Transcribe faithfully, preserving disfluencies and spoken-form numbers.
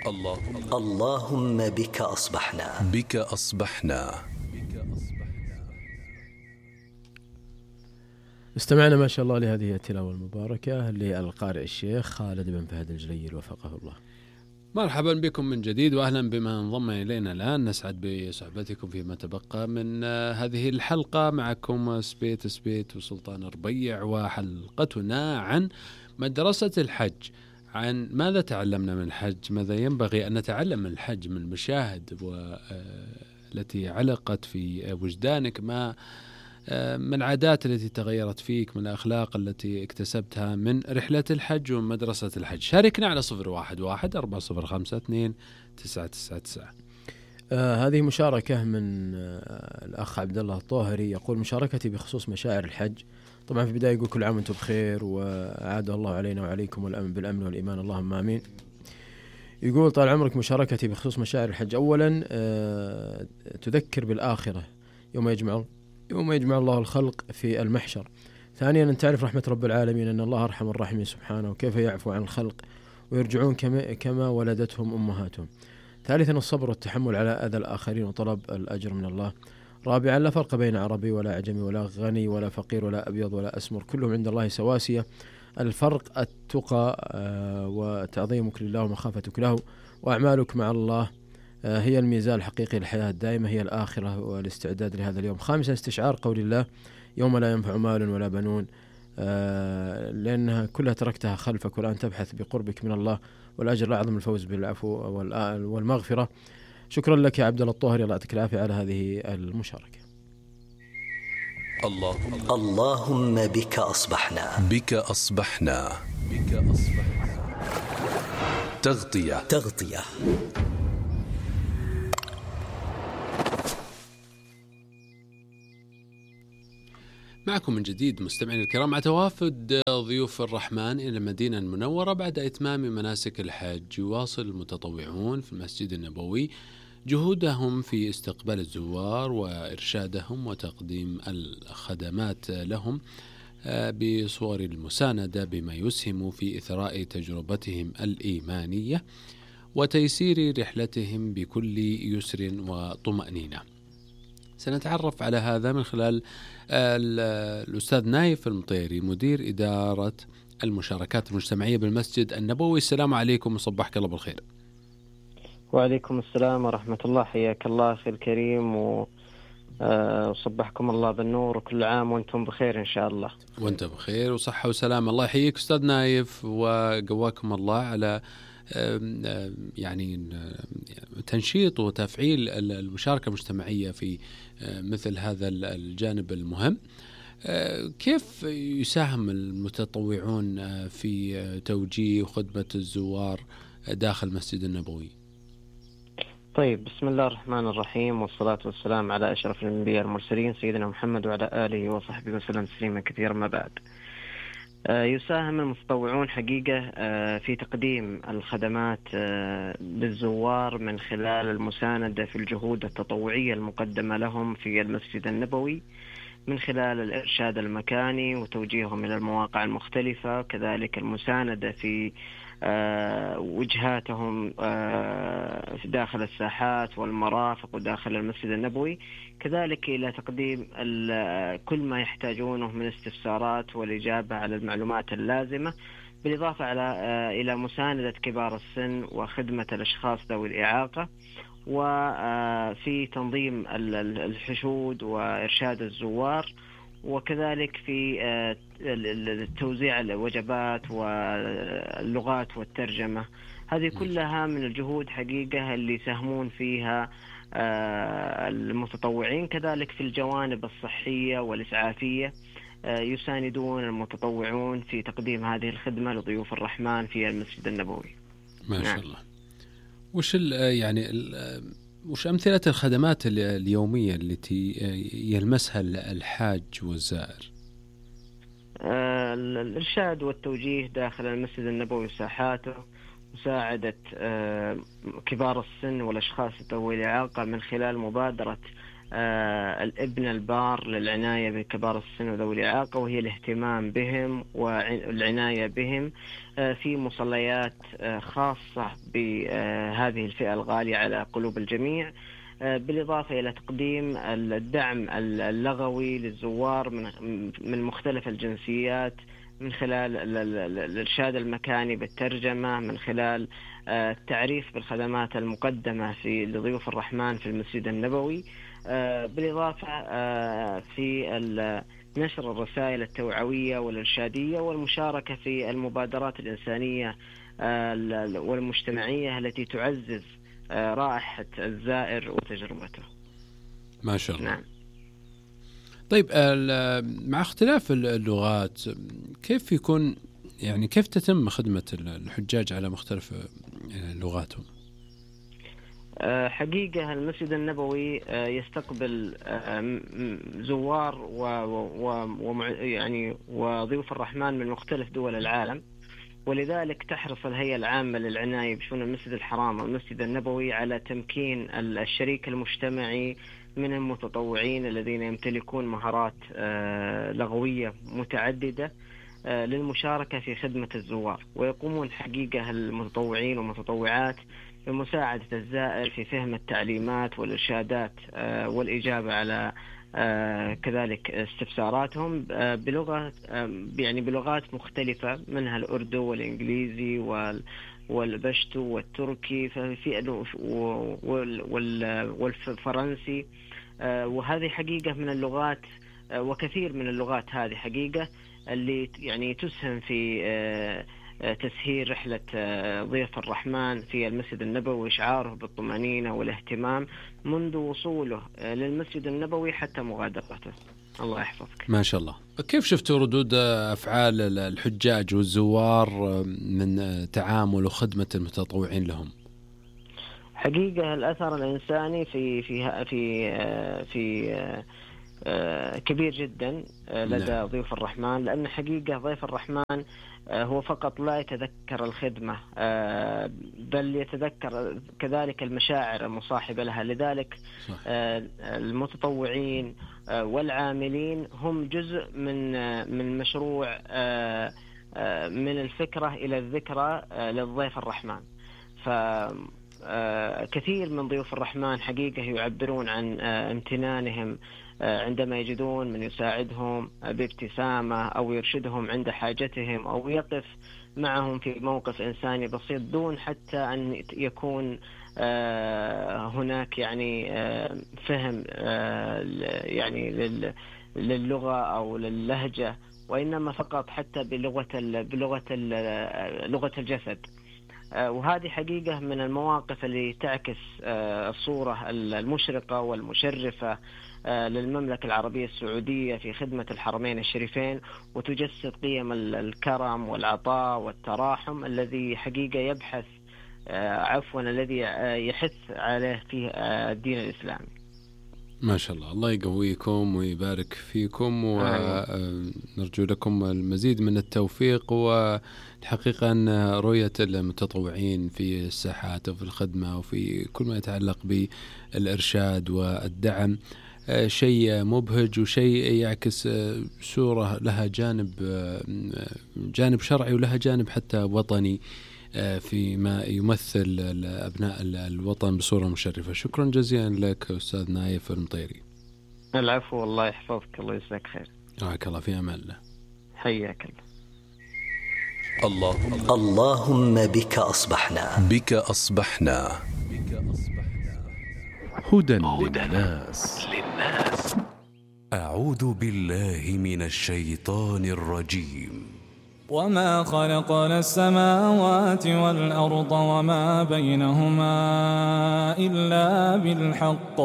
اللهم اللهم بك أصبحنا بك أصبحنا. استمعنا ما شاء الله لهذه التلاوة المباركة للقارئ الشيخ خالد بن فهد الجليل وفقه الله. مرحبا بكم من جديد وأهلا بما انضم إلينا الآن. نسعد بصحبتكم فيما تبقى من هذه الحلقة. معكم سبيت سبيت وسلطان ربيع، وحلقتنا عن مدرسة الحج، عن ماذا تعلمنا من الحج، ماذا ينبغي أن نتعلم من الحج، من المشاهد والتي علقت في وجدانك، ما من العادات التي تغيرت فيك، من الأخلاق التي اكتسبتها من رحلة الحج ومن مدرسة الحج. شاركنا على صفر واحد واحد أربعة صفر خمسة اثنين تسعة تسعة تسعة. آه هذه مشاركة من آه الأخ عبد الله الطاهري، يقول: مشاركتي بخصوص مشاعر الحج. طبعا في البداية يقول: كل عام وانتم بخير، وعاد الله علينا وعليكم والأمن بالأمن والإيمان، اللهم آمين. يقول: طال عمرك، مشاركتي بخصوص مشاعر الحج. أولا آه تذكر بالآخرة يوم يجمع يوم يجمع الله الخلق في المحشر. ثانيا أن تعرف رحمة رب العالمين، أن الله أرحم الراحمين سبحانه، وكيف يعفو عن الخلق ويرجعون كما, كما ولدتهم أمهاتهم. ثالثا الصبر والتحمل على أذى الآخرين وطلب الأجر من الله. رابعا لا فرق بين عربي ولا أعجمي ولا غني ولا فقير ولا أبيض ولا أسمر، كلهم عند الله سواسية. الفرق التقى وتعظيمك لله ومخافتك له، وأعمالك مع الله هي الميزان الحقيقي للحياة الدائمة، هي الآخرة والاستعداد لهذا اليوم. خامسا استشعار قول الله: يوم لا ينفع مال ولا بنون، لأنها كلها تركتها خلفك، والآن تبحث بقربك من الله، والأجر الأعظم الفوز بالعفو والمغفرة. شكرا لك يا عبد الله الطاهري، الله يعطيك العافية على هذه المشاركة. اللهم اللهم بك أصبحنا بك أصبحنا بك أصبحنا. تغطية تغطية معكم من جديد مستمعين الكرام، مع توافد ضيوف الرحمن إلى المدينة المنورة بعد إتمام مناسك الحج. يواصل المتطوعون في المسجد النبوي جهودهم في استقبال الزوار وإرشادهم وتقديم الخدمات لهم بصور المساندة، بما يسهم في إثراء تجربتهم الإيمانية وتيسير رحلتهم بكل يسر وطمأنينة. سنتعرف على هذا من خلال الأستاذ نايف المطيري، مدير إدارة المشاركات المجتمعية بالمسجد النبوي. السلام عليكم وصبحك الله بالخير. وعليكم السلام ورحمة الله، حياك الله أخي الكريم، وصبحكم الله بالنور، وكل عام وانتم بخير إن شاء الله. وانت بخير وصحة وسلام. الله يحييك أستاذ نايف وقواكم الله على يعني تنشيط وتفعيل المشاركة المجتمعية في مثل هذا الجانب المهم. كيف يساهم المتطوعون في توجيه وخدمة الزوار داخل المسجد النبوي؟ طيب، بسم الله الرحمن الرحيم، والصلاة والسلام على أشرف الأنبياء المرسلين سيدنا محمد وعلى آله وصحبه وسلم تسليما كثيرا. ما بعد، يساهم المتطوعون حقيقة في تقديم الخدمات للزوار من خلال المساندة في الجهود التطوعية المقدمة لهم في المسجد النبوي، من خلال الإرشاد المكاني وتوجيههم إلى المواقع المختلفة، كذلك المساندة في وجهاتهم في داخل الساحات والمرافق وداخل المسجد النبوي، كذلك إلى تقديم كل ما يحتاجونه من استفسارات والإجابة على المعلومات اللازمة، بالإضافة على إلى مساندة كبار السن وخدمة الأشخاص ذوي الإعاقة، وفي تنظيم الحشود وإرشاد الزوار، وكذلك في توزيع الوجبات واللغات والترجمة. هذه كلها من الجهود حقيقة اللي يساهمون فيها المتطوعين. كذلك في الجوانب الصحية والإسعافية يساندون المتطوعون في تقديم هذه الخدمة لضيوف الرحمن في المسجد النبوي. ما شاء الله. وش يعني وش أمثلة الخدمات اليومية التي يلمسها الحاج والزائر؟ الإرشاد والتوجيه داخل المسجد النبوي وساحاته، مساعدة كبار السن والأشخاص ذوي الإعاقة من خلال مبادرة الابن البار للعناية بكبار السن وذوي الإعاقة، وهي الاهتمام بهم والعناية بهم في مصليات خاصة بهذه الفئة الغالية على قلوب الجميع، بالإضافة إلى تقديم الدعم اللغوي للزوار من مختلف الجنسيات من خلال الإرشاد المكاني بالترجمة، من خلال التعريف بالخدمات المقدمة في لضيوف الرحمن في المسجد النبوي، بالإضافة في نشر الرسائل التوعوية والإرشادية والمشاركة في المبادرات الإنسانية والمجتمعية التي تعزز رائحة الزائر وتجربته. ما شاء الله. نعم. طيب مع اختلاف اللغات كيف يكون يعني كيف تتم خدمة الحجاج على مختلف لغاتهم؟ حقيقة المسجد النبوي يستقبل زوار و يعني وضيوف الرحمن من مختلف دول العالم، ولذلك تحرص الهيئة العامة للعناية بشؤون المسجد الحرام والمسجد النبوي على تمكين الشريك المجتمعي من المتطوعين الذين يمتلكون مهارات لغوية متعددة للمشاركة في خدمة الزوار، ويقومون حقيقة المتطوعين والمتطوعات بمساعدة الزائر في فهم التعليمات والإرشادات والإجابة على كذلك استفساراتهم بلغة يعني بلغات مختلفة منها الأردو والإنجليزي والبشتو والتركي والفرنسي، وهذه حقيقة من اللغات وكثير من اللغات هذه حقيقة اللي يعني تسهم في تسهيل رحلة ضيف الرحمن في المسجد النبوي وإشعاره بالطمأنينة والاهتمام منذ وصوله للمسجد النبوي حتى مغادرته. الله يحفظك. ما شاء الله. كيف شفتوا ردود أفعال الحجاج والزوار من تعامل وخدمة المتطوعين لهم؟ حقيقة الأثر الإنساني في في في في كبير جدا لدى ضيوف الرحمن، لأن حقيقة ضيف الرحمن هو فقط لا يتذكر الخدمة بل يتذكر كذلك المشاعر المصاحبة لها، لذلك صح. المتطوعين والعاملين هم جزء من من مشروع من الفكرة إلى الذكرى للضيف الرحمن. فكثير من ضيوف الرحمن حقيقة يعبرون عن امتنانهم عندما يجدون من يساعدهم بابتسامة أو يرشدهم عند حاجتهم أو يقف معهم في موقف إنساني بسيط دون حتى أن يكون هناك يعني فهم يعني للغة أو للهجة، وإنما فقط حتى بلغة بلغة لغة الجسد. وهذه حقيقة من المواقف اللي تعكس الصورة المشرقة والمشرفة للمملكة العربية السعودية في خدمة الحرمين الشريفين، وتجسد قيم الكرم والعطاء والتراحم الذي حقيقة يبحث عفوا الذي يحث عليه في الدين الإسلامي. ما شاء الله. الله يقويكم ويبارك فيكم، ونرجو لكم المزيد من التوفيق، والحقيقة أن رؤية المتطوعين في الساحات وفي الخدمة وفي كل ما يتعلق بالإرشاد والدعم شيء مبهج وشيء يعكس صورة لها جانب جانب شرعي ولها جانب حتى وطني فيما يمثل أبناء الوطن بصورة مشرفة. شكرا جزيلا لك أستاذ نايف المطيري. العفو، الله يحفظك، الله يجزاك خير. حياك الله، في أمان الله. حياك الله. اللهم بك أصبحنا بك أصبحنا هدى للناس. أعوذ بالله من الشيطان الرجيم. وما خلقنا السماوات والأرض وما بينهما إلا بالحق